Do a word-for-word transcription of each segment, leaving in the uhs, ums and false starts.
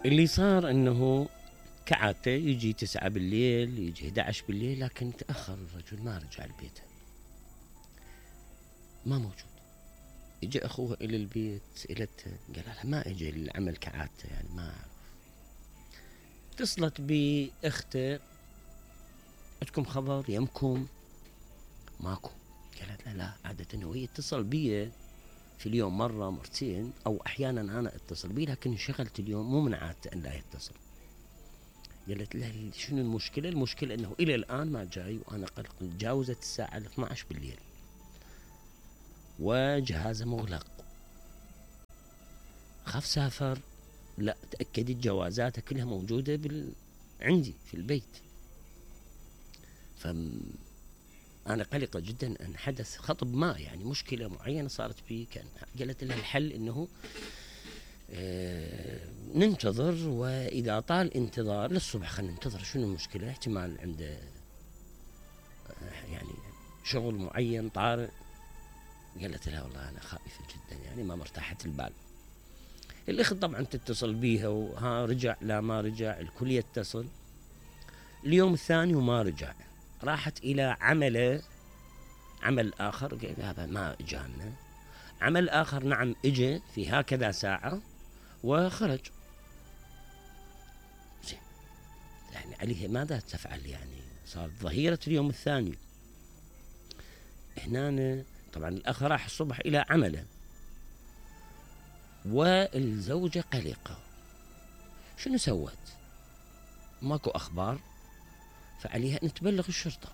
اللي صار انه كعادته يجي تسعة بالليل، يجي احد عشر بالليل، لكن تأخر الرجل ما رجع البيت، ما موجود. اجى اخوه الى البيت، سئلته قال لها ما اجى العمل كعادته، يعني ما اعرف. اتصلت باخته، عندكم خبر يمكم؟ ماكو. قالت لها لا، عادة هو يتصل بي في اليوم مرة مرتين، او احيانا انا اتصل بيه، لكن انشغلت اليوم، مو من عادته ان لا يتصل. قالت لها شنو المشكلة؟ المشكلة انه الى الان ما جاي، وانا قلق تجاوزت الساعة اثني عشر بالليل وجهازه مغلق، خاف سافر. لا، تأكدت جوازاته كلها موجودة بال... عندي في البيت. فم أنا قلقة جدا أن حدث خطب ما، يعني مشكلة معينة صارت بي. كان قالت لها الحل أنه آه ننتظر، وإذا طال انتظار للصبح خلينا ننتظر، شنو المشكلة؟ احتمال عنده آه يعني شغل معين طارئ. قالت لها والله أنا خائفة جدا، يعني ما مرتاحة البال. الأخت طبعا تتصل بيها، وها رجع لا ما رجع، الكل يتصل. اليوم الثاني وما رجع، راحت إلى عمله، عمل آخر، قال هذا ما إجانا. عمل آخر نعم إجا في هكذا ساعة وخرج. زين، يعني عليه ماذا تفعل؟ يعني صار ظهيرة اليوم الثاني. هنا طبعا الأخ راح الصبح إلى عمله، والزوجة قلقة. شنو سوت؟ ماكو أخبار، فعليها أن تبلغ الشرطة.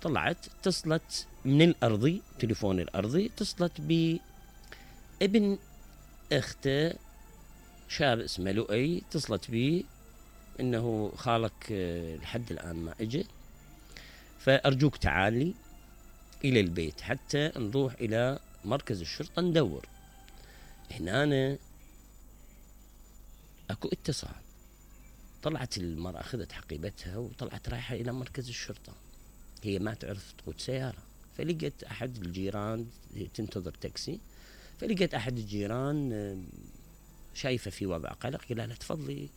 طلعت اتصلت من الأرضي، تليفون الأرضي، اتصلت بابن اخته شاب اسمه لؤي، اتصلت بيه انه خالك لحد الآن ما اجى، فأرجوك تعالي إلى البيت حتى نروح إلى مركز الشرطة ندور. هنا اكو اتصال. طلعت المرأة، أخذت حقيبتها وطلعت رايحة إلى مركز الشرطة. هي ما تعرف تقود سيارة، فلقيت أحد الجيران تنتظر تاكسي، فلقيت أحد الجيران شايفة في وضع قلق، قال لها تفضلي.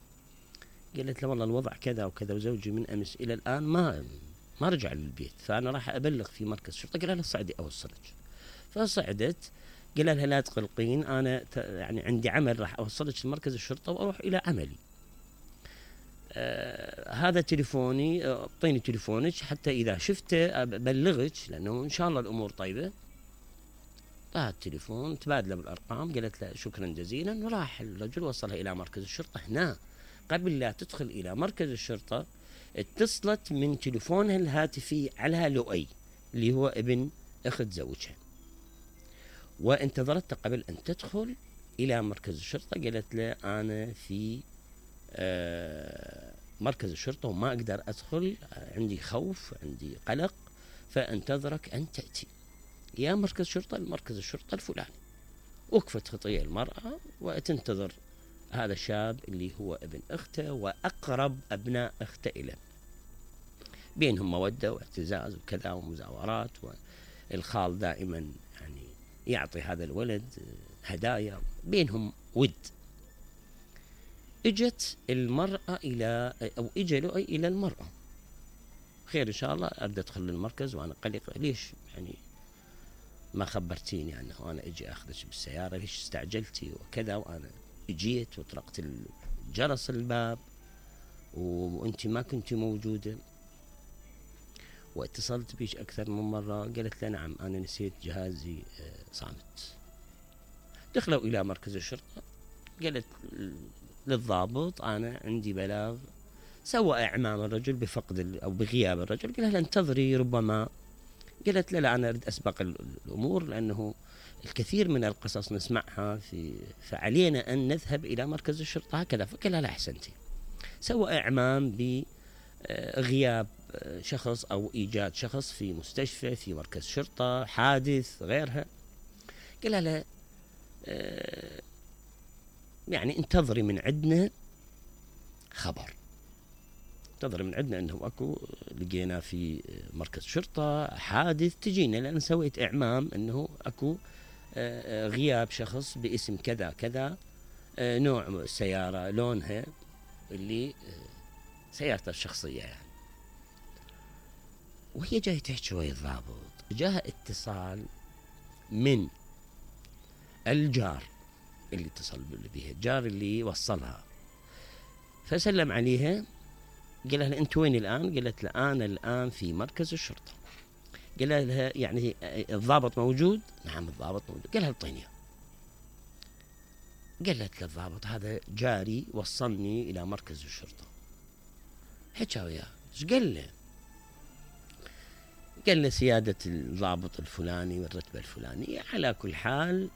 قالت له والله الوضع كذا وكذا، وزوجي من أمس إلى الآن ما ما رجع للبيت، فأنا راح أبلغ في مركز الشرطة. قال لها صعدي أوصلك. فصعدت، قال لها لا تقلقين، أنا يعني عندي عمل راح أوصلك لمركز الشرطة وأروح إلى عملي. آه هذا تليفوني، اعطيني تليفونك حتى إذا شفته أبلغك، لأنه إن شاء الله الأمور طيبة. طلع التليفون، تبادلوا بالأرقام، قالت له شكرا جزيلا، وراح الرجل وصلها إلى مركز الشرطة. هنا قبل لا تدخل إلى مركز الشرطة اتصلت من تليفونها الهاتفي على لؤي اللي هو ابن أخت زوجها، وانتظرت قبل أن تدخل إلى مركز الشرطة. قالت له أنا في آه مركز الشرطة وما أقدر أدخل، عندي خوف، عندي قلق، فأنتظرك أن تأتي يا مركز شرطة، المركز الشرطة الفلاني. وقفت خطية المرأة وتنتظر هذا الشاب اللي هو ابن أخته وأقرب أبناء أخته إليه، بينهم مودة واعتزاز وكذا ومزاورات، والخال دائما يعني يعطي هذا الولد هدايا، بينهم ود. اجت المرأة إلى أو اجى لؤي إلى المرأة، خير إن شاء الله، أريد أدخل المركز وأنا قلقة، ليش يعني ما خبرتيني يعني وأنا أجي أخذك بالسيارة؟ ليش استعجلتي وكذا؟ وأنا اجيت وطرقت الجرس الباب وأنت ما كنت موجودة، واتصلت بيش أكثر من مرة. قالت لي نعم أنا نسيت جهازي صامت. دخلوا إلى مركز الشرطة، قالت للضابط أنا عندي بلاغ، سوى إعمام الرجل بفقد أو بغياب الرجل. قال لها انتظري ربما. قالت لا لا أنا أريد أسبق الأمور، لأنه الكثير من القصص نسمعها في فعلينا أن نذهب إلى مركز الشرطة هكذا. فقال لا أحسنتي. سوى إعمام بغياب شخص أو إيجاد شخص في مستشفى، في مركز شرطة، حادث، غيرها. قال لا يعني انتظري من عندنا خبر، انتظري من عندنا أنه أكو لقينا في مركز شرطة حادث، تجينا، لأن سويت إعمام أنه أكو غياب شخص باسم كذا كذا آه نوع السيارة، لونها، اللي آه سيارته الشخصية يعني. وهي جاي تحكي ويا الضابط، جاها اتصال من الجار اللي اتصل بها، الجار اللي وصلها، فسلم عليها، قال لها انت وين الان؟ قالت له انا الان في مركز الشرطه. قال لها يعني الضابط موجود؟ نعم الضابط موجود. قال لها اعطيني إياه. قالت له الضابط هذا جاري وصلني الى مركز الشرطه. حكى وياه، ايش قال له؟ قال له سياده الضابط الفلاني والرتبه الفلانيه، على كل حال